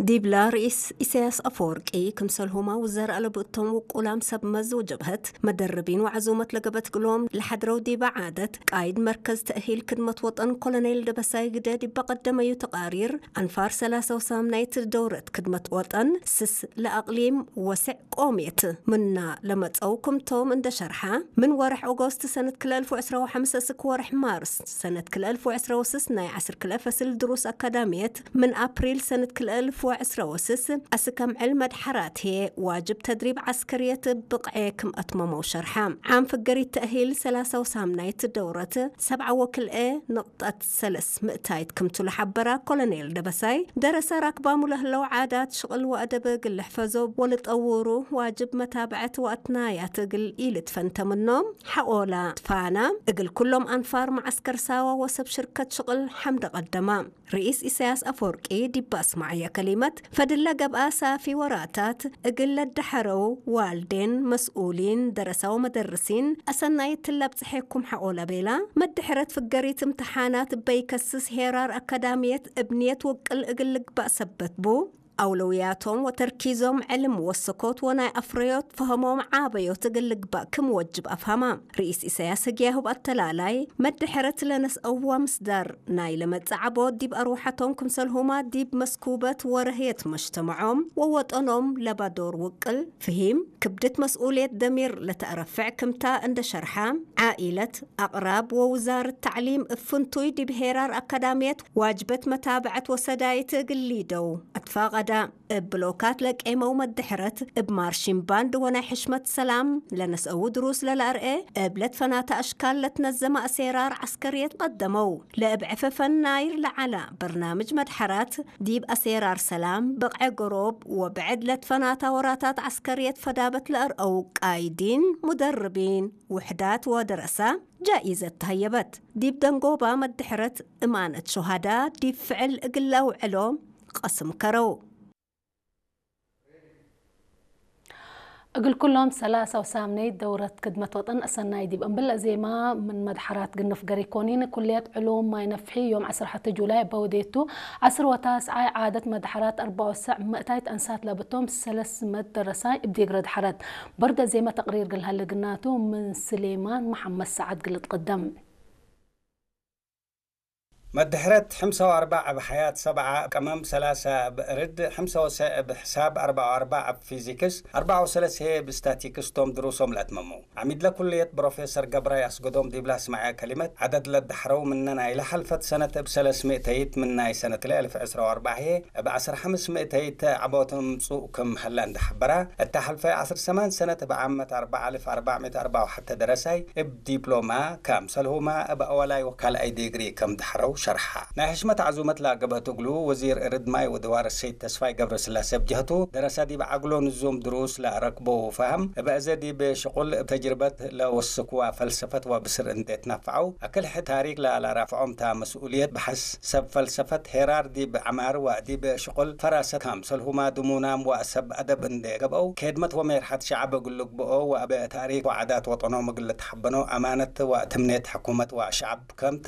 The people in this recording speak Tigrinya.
ዲብላ ርኢስ ኢሳያስ ኣፈወርቂ ክምሰልሁማ ውዘር ኣለብእቶም ውቁላም ሰብ መዝ ጀብሀት መደርቢን ወዓዞመት ለገበት ግሎም ለሓድረው ዲባ ዓደት ቃይድ መርከዝ ተእሂል ክድመት ወጠን ኮሎኔል ደበሳይ ግደ ዲባ ቀደመዩ ተቃሪር ኣንፋር ሰላሳ ወሳም ናይት ደውረት ክድመት ወጠን ስስ ለኣቅሊም ወስዕ ቆሜት ምና ለመጸው ክምቶም እንደ ሸርሓ ምን ወርሕ ኦጎስት ሰነት ክልተ ኣልፍ ወዕስራ ወሓምሰ ስክ ወርሕ ማርስ ሰነት ክልተ ኣልፍ ወዕስራ ወስስ ናይ ዓስር ክልተ ፈስል ድሩስ ኣካዳሚየት ምን ኣፕሪል ሰነት ክልተ ኣልፍ ወዕስራ ወስስ ኣስከም ዕል መድሓራት ህየ ዋጅብ ተድሪብ ዓስከርየት ብቕዔ ክም ኣትመመው ሸርሓ። ዓም ፍገሪት ተእሂል ሰላሳ ወሳም ናይት ደውረት ሰብዓ ወክልኤ ንቕጠት ሰለስ ምእታይት ክምቱ ለሓበራ ኮሎኔል ደበሳይ ደረሰ ራክባሙ ለህለው ዓዳት ሽቕል ወኣደብ ግልሕ ፈዞ ወልጠውሩ ዋጅብ መታብዐት ወኣትናያት እግል ኢልትፈንተ ምኖም ሓቆላ ፋና እግል ኩሎም ኣንፋር መዓስከር ሳዋ ወሰብ ሽርከት ሽቕል ሓምደ ቀደማ። ርኢስ ኢሳያስ ኣፈወርቂ ዲባ ኣስማዕያ ከሊመት ፈድለ ገብኣ ሳፊ ወራታት እግል ለዳሐረው ዋልዴን መስኡሊን ደረሳው መደርሲን ኣሰናይ ትላብ ጽሐኩም ሓቆላ ቤላ መድሕረት ፍገሪት እምትሓናት በይከስስ ሄራር ኣካዳሚየት እብንየት ውቅል እግል ልግባእ ሰበት ቡ ኣውለውያቶም ወተርኪዞም ዕልም ወሰኮት ወናይ ኣፍረዮት ፈህሞም ዓበዮት እግል ልግባእ ክም ወጅብ ኣፍሃማ። ርኢስ ኢሳያስ ህግያሁብ ኣተላላይ መድሕረት ለነስአዋ ምስዳር ናይ ለመጽእ ዓቦት ዲብ ኣርዋሓቶም ክምሰልሁማ ዲብ መስኩበት ወረህየት መጅተመዖም ወወጠኖም ለባዶር ውቅል ፍሂም ክብድት መስኡልየት ደሚር ለተአረፍዕ ክምታ እንደ ሸርሓ ዓኢለት ኣቕራብ ወውዛርት ታዕሊም እፍንቱይ ዲብ ሄራር ኣካዳሚየት ዋጅበት መታብዐት ወሰዳይት እግል ሊደው ኣትፋቐዳ። እብ ብሎካት ለቄመው መድሕረት እብ ማርሺን ባንድ ወናይ ሕሽመት ሰላም ለነስአው ድሩስ ለላርኤ እብ ለትፈናተ ኣሽካል ለትነዘመ ኣሴራር ዓስከርየት ቀደመው። ለእብ ዕፈፈን ናይር ለዓላ በርናምጅ መድሐራት ዲብ ኣሴራር ሰላም ብቕዐ ገሮብ ወብዕድ ለትፈናታ ወራታት ዓስከርየት ፈዳበት ለአርአው ቃይዲን ሙደርቢን ውሕዳት ወደረሳ ጃኢዘት ተሀየበት። ዲብ ደንጎባ መድሕረት እማነት ሹሃዳ ዲብ ፍዕል እግል ለአውዕሎ ቀስም ከረው። እግል ኩሎም ሰላሳ ወሳምነይት ደውረት ክድመት ወጠን ኣሰናይ ዲብ እምብል ዜማ ምን መድሓራት ግንፍ ገሪኮኒን ኩልየት ዕሉም ማይ ነፍሒ ዮም ዓሰርተ ሐተ ጁላይ በውዴቱ ዓስር ወታስዓይ ዓደት መድሓራት ኣርባዕ ወሰዕ ምእታይት ኣንሳት ለብቶም ሰለስ መት ደረሳይ እብ ዲግረ ድሓረት በርደ ዜማ ተቅሪር ግልሃለ ግናቱ ምን ስሌማን መሓመድ ሰዓድ ግልት ቅደም። መድሕረት ሕምሳ ወኣርባዕ እብ ሓያት ሰብዓ እብ ቀመም ሰላሳ እብ እርድ ሕምሳ ወሰ እብ ሕሳብ ኣርባዓ ወኣርባዕ እብ ፊዚክስ ኣርባዓ ወሰለሰ እብ ስታቲክስ ቶም ድሩሶም ለአትመሙ። ዓሚድ ለኩልየት ፕሮፌሰር ገብራይ ኣስገዶም ዲብላ ስማዕያ ከሊመት ዓደድ ለዳሕረው ምነ ናይ ለሓልፈት ሰነት እብ ሰለስ ምእተይት ምን ናይ ሰነት ክልኤ እልፍ ዕስራ ወኣርባዕ ህየ እብ ዓስር ሓምስ ምእተይት ዓቦት እምጹእ ክም ሀላ እንዳ ሓበራ እታ ሓልፈ ዓስር ሰማን ሰነት እብ ዓመት ኣርባዓ እልፍ ኣርባዕ ምእት ኣርባዓ ወሓተ ደረሳይ እብ ዲፕሎማ ካምሰልሁማ እብ ኣወላይ ወካልኣይ ዲግሪ ከም ድሕረው ሸርሓ። ናይ ሕሽመት ዓዙመት ላገበህት እግሉ ወዚር እርድ ማይ ወድዋር ሰይድ ተስፋይ ገብረስላሴ ብጀህቱ ደረሳ ዲብ ዓግሎ ንዞም ድሩስ ላረክቦ ፋህም እብ እዘ ዲብ ሽቁል እብ ተጅርበት ለወስክዋ ፈልሰፈት ወብስር እንዴት ናፍዓው ኣክልሒ ታሪክ ላላራፍዖም ታ መስኡልየት ብሓስ ሰብ ፈልሰፈት ሄራር ዲብ ዓማር ወዲብ ሽቁል ፈራሰት ካምሰልሁማ ድሙናም ወሰብ ኣደብ እንዴ ገብአው ኬድመት ወሜርሓት ሸዓብ እግል ልግብኦ ወአብ ታሪክ ወዓዳት ወጠኖም እግል ልትሓበኖ ኣማነት ወትምኔት ሕኩመት ወሸዓብ ከምተ